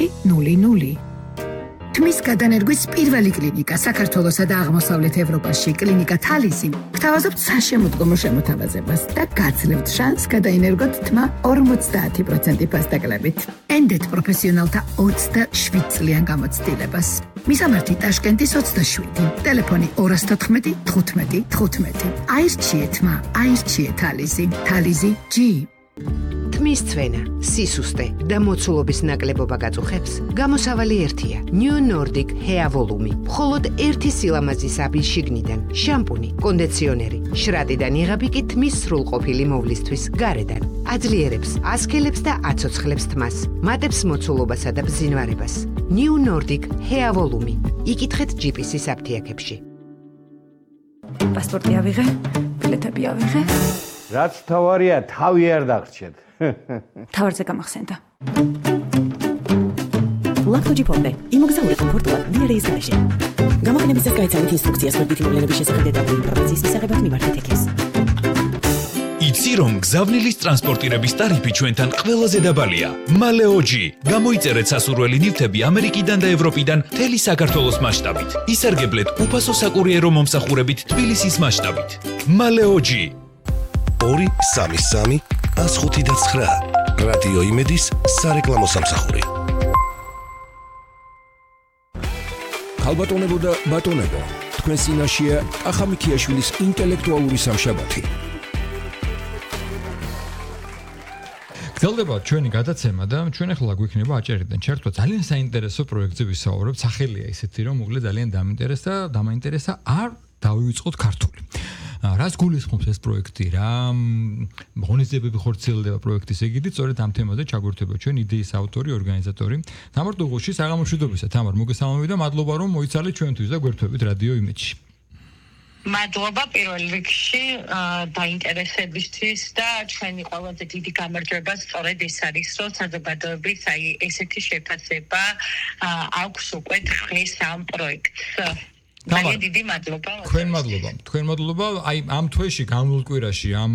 400. თმის გადანერგვის პირველი კლინიკა საქართველოსა და აღმოსავლეთ ევროპაში კლინიკა თალისი გთავაზობთ საშემოდგომო შემოთავაზებას და გაძლევთ შანსს გადაინერგოთ თმა 50% ფასდაკლებით. ენდეთ პროფესიონალთა 27 წლიან გამოცდილებას. მისამართი ტაშკენტის 27, ტელეფონი 214 15 15. აირჩიეთ თმა, აირჩიეთ თალისი, თალისი G. თმის ცვენა, სისუსტე და მოცულობის ნაკლებობა გაწუხებს, გამოსავალი ერთია. New Nordic Hair Volume. მხოლოდ ერთი სილამაზის აბი შიგნიდან, შამპუნი, კონდიციონერი, შრატიდან იღები კი თმის სრულყოფილი მოვლისთვის გარედან. აძლიერებს, ასქელებს და აცოცხლებს თმას, მატებს მოცულობასა და ბზინვარებას. New Nordic Hair Volume. იკითხეთ GPS-ის აფთიაქებში. პასპორტი ავიღე, ბილეთები ავიღე. რაც თავარია, თავი არ დაგრჩეთ. თავარზე გამახსენდა. ლაქთოჯი ფონდე, იმოგზაური კომფორტულად დიარეის გარეშე. გამოყენების წესს გაიცანით ინსტრუქციას მოდით მოვლენების შესახებ დეტალური ინფორმაციის მისაღებად მიმართეთ ექეს. იცი რომ გზავნილის ტრანსპორტირების ტარიფი ჩვენთან ყველაზე დაბალია. მალეოჯი. გამოიწერეთ სასურველი ნივთები ამერიკიდან და ევროპიდან მთელი საქართველოს მასშტაბით. ისარგებლეთ უფასო საკურიერო მომსახურებით თბილისის მასშტაბით. მალეოჯი. 233 105 რადიო იმედის სარეკლამო სამსახური. ხალბატონებო და ბატონებო, თქვენ წინაშეა ახამიქიაშვილის ინტელექტუალური სამშაბათი. გრძელდება ჩვენი გადაცემა და ჩვენ ახლა გვიქნება აჭერიდან ჩართვა ძალიან საინტერესო პროექტზე ვისაუბრებთ. სახელია ისეთი რომ უგლე ძალიან დამაინტერესა არ დავივიწყოთ ქართული. რას გულისხმობს ეს პროექტი, რა ღონისძიებები ხორციელდება პროექტის ეგიდით, სწორედ ამ თემაზე ჩაგვერთვება ჩვენ იდეის ავტორი, ორგანიზატორი თამარ დუღუში. საღამომშვიდობისა თამარ, მოგესალმებით და მადლობა რომ მოიცალეთ ჩვენთვის და გვერთვებით რადიო იმედში. მადლობა პირველ რიგში დაინტერესებისთვის და ჩვენი ყველაზე დიდი გამარჯვება სწორედ ეს არის, რომ საზოგადოების ესეთი შეფასება აქვს უკვე დღეს ამ პროექტს. ძალიან დიდი მადლობა. თქვენ მადლობა. აი ამ თვეში განვლილ კვირაში ამ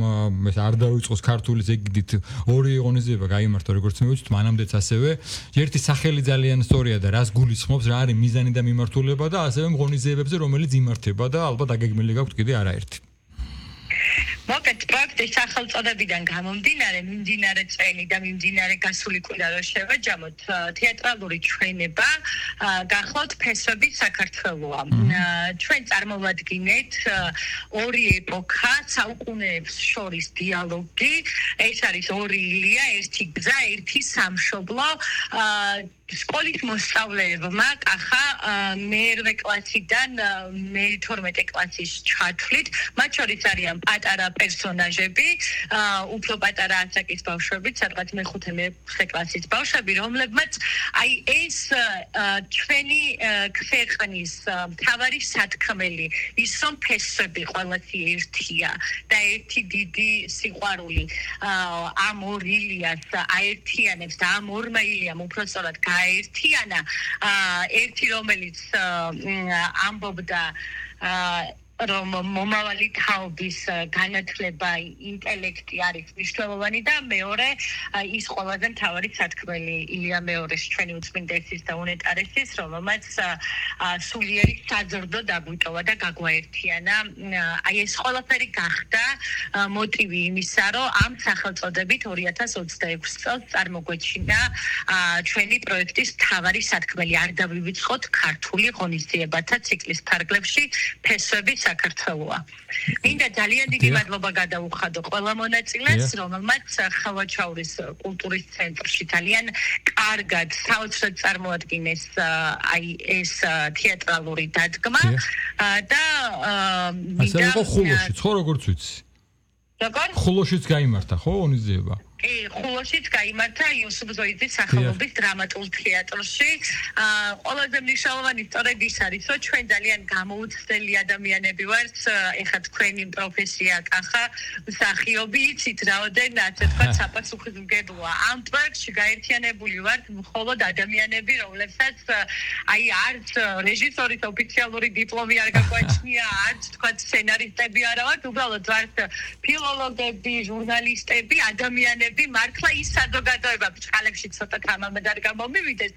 არ დავიწყოს ქართულის ეგიდით ორი ღონისძიება გაიმართა როგორც მივუწვით, მანამდეც ასევე. ერთი სახელი ძალიან სწორია და რას გულისხმობს, რა არის მიზანი და მიმართულება და ასევე ღონისძიებებზე რომელიც იმართება და ალბათ აგეგმილი გაქვთ კიდე არაერთი. მოკეთ პროექტის სახელწოდებიდან გამომდინარე, მიმდინარე წელი და მიმდინარე გასული კვირა რო შევაჯამოთ, თეატრალური ჩვენება გახლავთ ფესვები საქართველოა. ჩვენ წარმოვადგინეთ ორი ეპოქა, საუკუნეებს შორის დიალოგი, ეს არის ორი ილია, ერთი გზა, ერთი სამშობლო. სკოლის მოსწავლეებმა კახა მე-8 კლასიდან მე-12 კლასის ჩათვლით, მათ შორის არიან პატარა პერსონაჟები, უფრო პატარა ასაკის ბავშვები, სადღაც მე-5 მე-6 კლასის ბავშვები, რომლებმაც აი ეს ჩვენი ქვეყნის მთავარი სათქმელი, ის რომ ფესვები ყველასი ერთია და ერთი დიდი სიყვარული ამ ორ ილიას აერთიანებს და ამ ორმა ილიამ უпростоრად გაერთიანა ერთი რომელიც ამბობდა რომ მომავალი თაობის განათლება, ინტელექტი არის მნიშვნელოვანი და მეორე ის ყველაზე მთავარი სათქმელი ილია მეორის ჩვენი უწმინდესის და უნეტარესის, რომელმაც სულიერი საზრდო დაგვიტოვა და გაგვაერთიანა. აი ეს ყველაფერი გახდა მოტივი იმისა, რომ ამ სახელწოდებით 2026 წელს წარმოგვეჩინა ჩვენი პროექტის მთავარი სათქმელი. არ დავივიწყოთ ქართული ღონისძიებათა ციკლის ფარგლებში ფესვები საქართველოა. მინდა ძალიან დიდი მადლობა გადაუხადო ყველა მონაწილეს, რომელმაც ხალვაჩაურის კულტურის ცენტრში ძალიან კარგად საოცრად წარმოადგინეს აი ეს თეატრალური დადგმა და ასე იყო ხულოში, ხო როგორც ვიცი. როგორ? ხულოშიც გაიმართა, ხო, ღონისძიება? ხულოშიც გაიმართა იოსებ ზოიძის სახელობის დრამატულ თეატრში. ყველაზე მნიშვნელოვანი სწორედ ის არის, რომ ჩვენ ძალიან გამოუცდელი ადამიანები ვართ. ეხლა თქვენი პროფესია კახა, მსახიობი, იცით რაოდენ ასე თქვა საპასუხისმგებლოა. ამ პროექტში გაერთიანებული ვართ მხოლოდ ადამიანები, რომლებსაც აი არც რეჟისორის ოფიციალური დიპლომი არ გაგვაჩნია, არც თქვა სცენარისტები არა ვართ, უბრალოდ ვართ ფილოლოგები, ჟურნალისტები, ადამიანები მართლა ის საზოგადოება ბჭყალებში ცოტა თამამად არ გამომივიდეს.